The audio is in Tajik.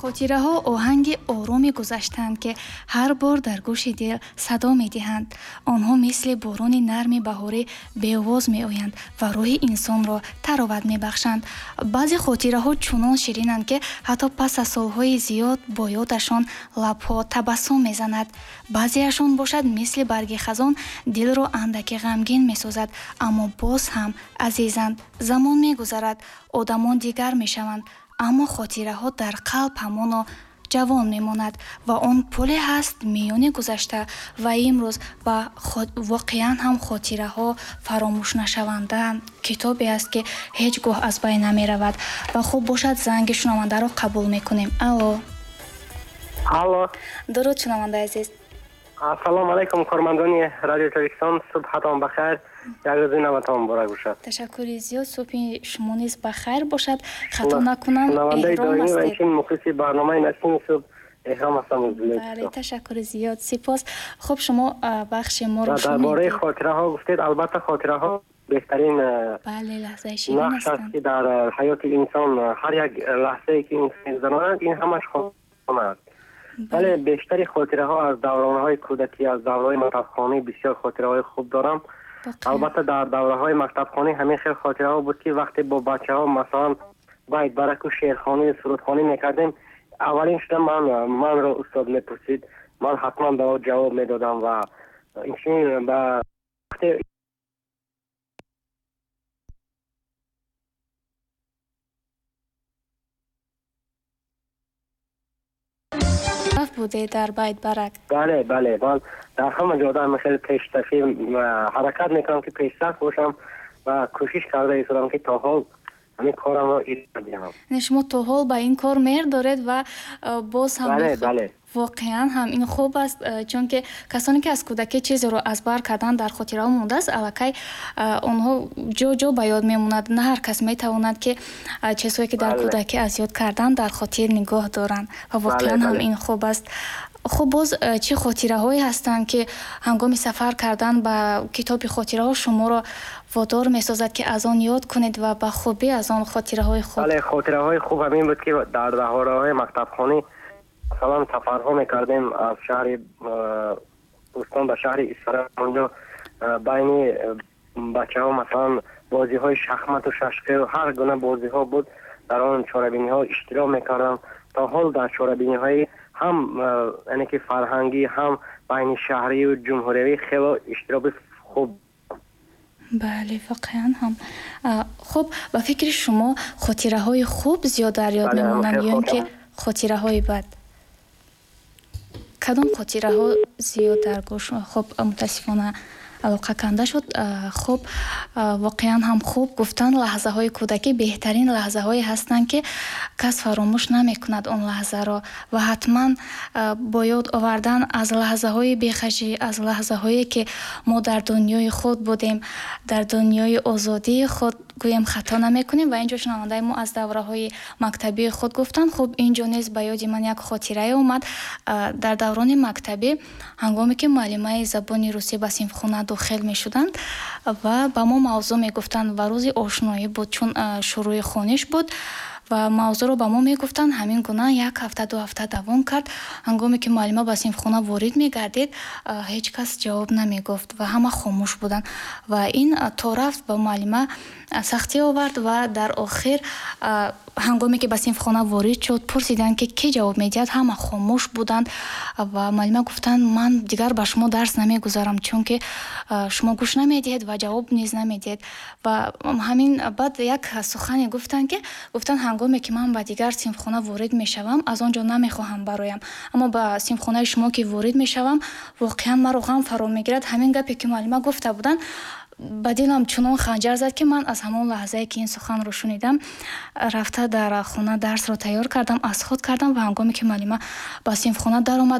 Хотираҳо оҳанги ороми гузаштаанд, ки ҳар бор дар гӯши дил садо медиҳанд. Онҳо мисли борони нарми баҳорӣ беовоз меоянд ва рӯҳи инсонро тароват мебахшанд. Баъзе хотираҳо чунон ширинанд, ки ҳатто пас аз солҳои зиёд бо ёдашон лабҳо табассум мезанад. Баъзеашон бошад, мисли барги хазон дилро андаке ғамгин месозад, аммо боз ҳам азизанд. Замон мегузарад, одамон дигар мешаванд, аммо хотираҳо дар қалб ҳамоно ҷавон мемонад ва он пуле ҳаст миёни гузашта ва имрӯз ва воқеан ҳам хотираҳо фаромӯшнашавандаанд. Китобе аст, ки ҳеҷ гоҳ аз байн намеравад. Ва хуб бошад, занги шунавандаро қабул мекунем. Алло. Алло. Дуруд, шунавандаи азиз. Ассалому алайкум, кормандони радиои Тоҷикистон. Субҳатон бахайр, як рӯзи наватон муборак бошад. Ташаккури зиёд, субҳи шумо низ бахайр бошад. Хато накунам, шунавандаи Эҳром доимӣ ва ҳастед. инчунин мухлиси барномаи Насими субҳ Эҳром ҳастам аз Вилояти Бале, Суғд. ташаккури зиёд, сипос. Хуб, шумо бахши моро дар бораи шунидед. хотираҳо гуфтед. Албатта, хотираҳо беҳтарин Бале, лаҳзаи ширин нақш аст, ҳастанд, ки дар ҳаёти инсон ҳар як лаҳзае ки инсон мегузаронад, ин ҳамаш хотира аст. Бале, бештари хотираҳо аз давронҳои кӯдакӣ, аз давраҳои мактабхонӣ бисёр хотираҳои хуб дорам. Албатта, дар давраҳои мактабхонӣ ҳамин хел хотираҳо буд, ки вақте бо бачаҳо, масалан, байт бараку, шеърхонӣ, сурудхонӣ мекардем, аввалин шуда манро устод мепурсид, ман ҳатман ба ӯ ҷавоб медодам ва инчунин ба вақте буде дар байт барак. Бале, бале, ман дар ҳама ҷода ҳама хеле пешсафӣ ҳаракат мекунам, ки пешсаф бошам ва кӯшиш карда истодам, ки то ҳол ҳамин корамро идома диҳам. Яъне шумо то ҳол ба ин кор меҳр доред ва боз ҳам Бале, мехоҳед. Бале. Воқеан ҳам ин хуб аст, чунки касоне ки аз кӯдакӣ чизеро аз бар кардан дар хотираҳо мондааст, аллакай онҳо ҷо-ҷо ба ёд мемонад. На ҳар кас метавонад, ки чизҳое ки дар кӯдакӣ аз ёд кардан дар хотир нигоҳ доранд ва воқеан ҳам ин хуб аст. Хуб, боз чӣ хотираҳое ҳастанд, ки ҳангоми сафар кардан ба китоби хотираҳо шуморо водор месозад, ки аз он ёд кунед ва ба хубӣ аз он хотираҳои хуб? Бале, хотираҳои хуб ҳамин буд, ки дар давраҳои мактабхонӣ, масалан, сафарҳо мекардем аз шаҳри Бӯстон ба шаҳри Исфара. Онҷо байни бачаҳо, масалан, бозиҳои шахмату шашқию ҳар гуна бозиҳо буд. Дар он чорабиниҳо иштирок мекардам. То ҳол дар чорабиниҳои ҳам яъне ки фарҳангӣ, ҳам байни шаҳрию ҷумҳуриявӣ хело иштироки хуб. Бале, воқеан ҳам. Хуб, ба фикри шумо хотираҳои хуб зиёд дар ёд мемонанд ё ин ки хотираҳои бад? Кадом хотираҳо зиёд дар гӯш? Хуб, мутаассифона алоқа канда шуд. Хуб, воқеан ҳам хуб гуфтан, лаҳзаҳои кӯдакӣ беҳтарин лаҳзаҳое ҳастанд, ки кас фаромӯш намекунад он лаҳзаро ва ҳатман бо ёд овардан аз лаҳзаҳои бехашӣ, аз лаҳзаҳое ки мо дар дунёи худ будем, дар дунёи озодии худ гӯем, хато намекунем. Ва инҷо шунавандаи мо аз давраҳои мактабии худ гуфтанд. Хуб, инҷо низ ба ёди ман як хотирае омад. Дар даврони мактабӣ, ҳангоме ки муаллимаи забони русӣ ба синфхона дохил мешуданд ва ба мо мавзӯъ мегуфтанд ва рӯзи ошноӣ буд, чун шурӯи хониш буд ва мавзӯъро ба мо мегуфтанд. Ҳамин гуна як ҳафта, 2 ҳафта давом кард. Ҳангоме ки муаллима ба синфхона ворид мегардид, ҳеҷ кас ҷавоб намегуфт ва ҳама хомӯш буданд ва ин то рафт ба муаллима сахтӣ овард ва дар охир, ҳангоме ки ба синфхона ворид шуд, пурсиданд, ки кӣ ҷавоб медиҳад. Ҳама хомӯш буданд ва муаллима гуфтанд: ман дигар ба шумо дарс намегузарам, чунки шумо гӯш намедиҳед ва ҷавоб низ намедиҳед. Ва ҳамин баъд як сухане гуфтанд, ки гуфтанд: ҳангоме ки ман ба дигар синфхона ворид мешавам, аз он ҷо намехоҳам бароям, аммо ба синфхонаи шумо ки ворид мешавам, воқеан маро ғам фаро мегирад. Ҳамин гапе ки муаллима гуфта буданд, ба дилам чунон ханҷар зад, ки ман аз ҳамон лаҳзае ки ин суханро шунидам, рафта дар хона дарсро тайёр кардам, аз худ кардам ва ҳангоме ки муаллима ба синфхона даромад,